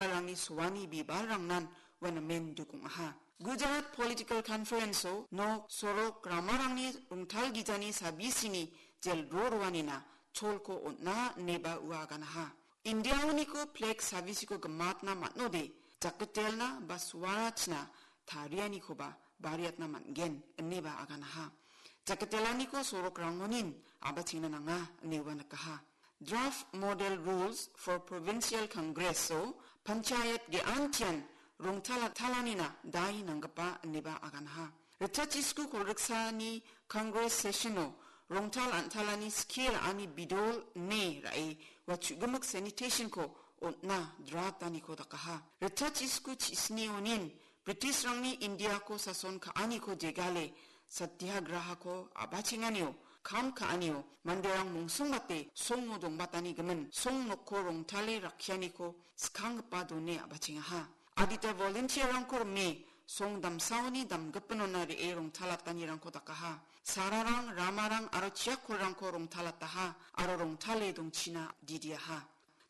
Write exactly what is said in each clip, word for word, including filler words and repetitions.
rangni soani bibalrangnan ua namen duk ong·aha. Gujarat Political Conference-o nok, sorok, ramarangni rongtal gijani sabisini jel ro roanina cholko on·a ineba ua aganaha. Indiaoniko flag sabisiko gimatna man·ode, jakitelna ba suarachna tarianikoba bariatna man·gen ineba aganaha. Jakitelaniko sorokrangonin a·bachengna nanga ine ua nikaha. Draft Model Rules for Provincial Congress-o panchayat ge·antian rongtal an·talanina dai nanggipa ineba aganaha. Ritchachisku kolgriksani Congress session-o rongtal an·talani skie ra·ani bidol ine ra·e ua chu·gimik sanitation-ko on·na draft-aniko dakaha. Ritchachisku chisnionin British-rangni Indiako sason ka·aniko jegale, satyagrahako a·bachenganio, kam ka·anio, manderang mongsongbate songo dongbatani gimin, song nokko rongtale rakkianiko skanggipa done a·bachengaha. Adita volunteer-rangko rime, song damsaoni damgipinona re·e rongtalatanirangko dakaha. Sararang, ramarang aro chiakkolrangko rongtalataha, aro rongtale dongchina didiaha.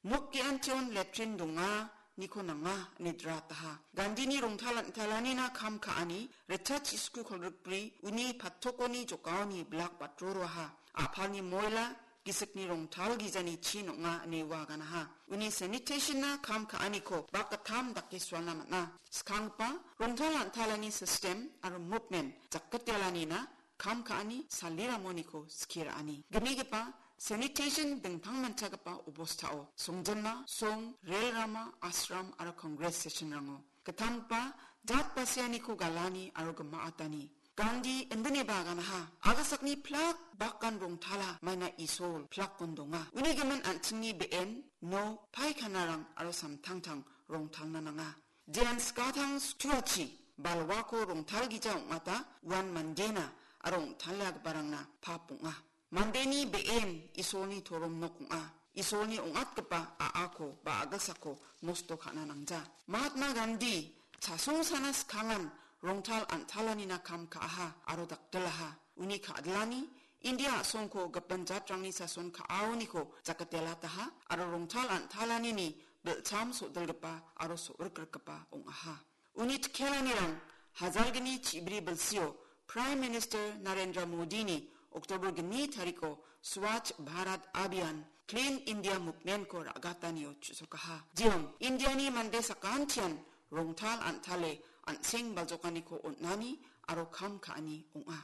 Nok ge·antion letrin donganiko nanga ine drataha. Gandini rongtal an·talanina kam ka·ani, ritchachisku kolgrikbri, uni patokoni jokaoni blak batroroaha. A·palni moila, gisikni rongtal gijani chin ong·a ine ua aganaha. Uni sanitation-na kam ka·aniko bak gittam dake sualna man·a. Skanggipa rongtal an·talani system aro movement jakgitelanina kam ka·ani saliramoniko skie ra·ani. Gimigipa sanitation dingtangmanchagipa obostao songjinma, song, rel rama, ashram aro Congress session-rango. Gittamgipa jat basianiko galani aro gimaatani. Gandhi indineba aganaha, agasakni plak bakan rongtala maina Isol plakon donga. Uni gimin an·chingni be·en, no, paikanarang aro samtangtang rongtalna nanga. Jean skatang stuachi balwako rongtalgija ong·ata uan mandena aro ong·taliagiparangna pap ong·a. Mandeni be·en Isolni torom nok ong·a. Isolni ong·atgipa a·ako ba a·gasako nosto ka·na nangja. Mahatma Gandhi chasong sana skangan rongtal an·talanina kam ka·aha aro dakdilaha. Uni ka·dilani India a·songko gipin jatrangni sason ka·aoniko jakatelataha aro rongtal an·talanini bilcham so·dilgipa aro so·rikrikgipa ong·aha. Uni tikelanirang hajalgni chibri bilsio Prime Minister Narendra Modini October gni tariko Swachh Bharat Abhiyan, Clean India Movement-ko ra·gatanio chu·sokaha. Jeon, Indiani mande sakantian rongtal an·tale an·seng baljokaniko on·ani aro kam ka·ani ong·a.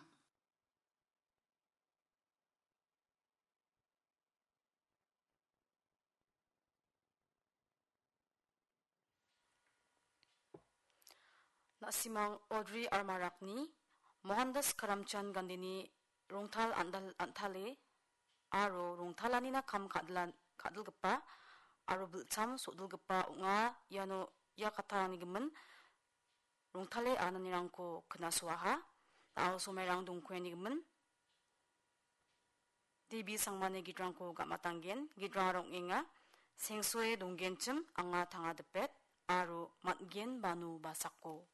Na·simang Audrey Armarakni Mohandas Karamchand Gandhini rongtal an·dal-, an·tale aro rongtalanina kam ka·dilan-, ka·dilgipa aro bilcham so·dilgipa ong·a. Iano ia kattarangni gimin rongtale ananirangko knasoaha. Na·o somairang dongkoeni gimin Devi Sangmani gitrangko gamatanggen. Gitrang ong·enga: Sengsoe donggenchim anga tangadipet aro man·gen bano basako.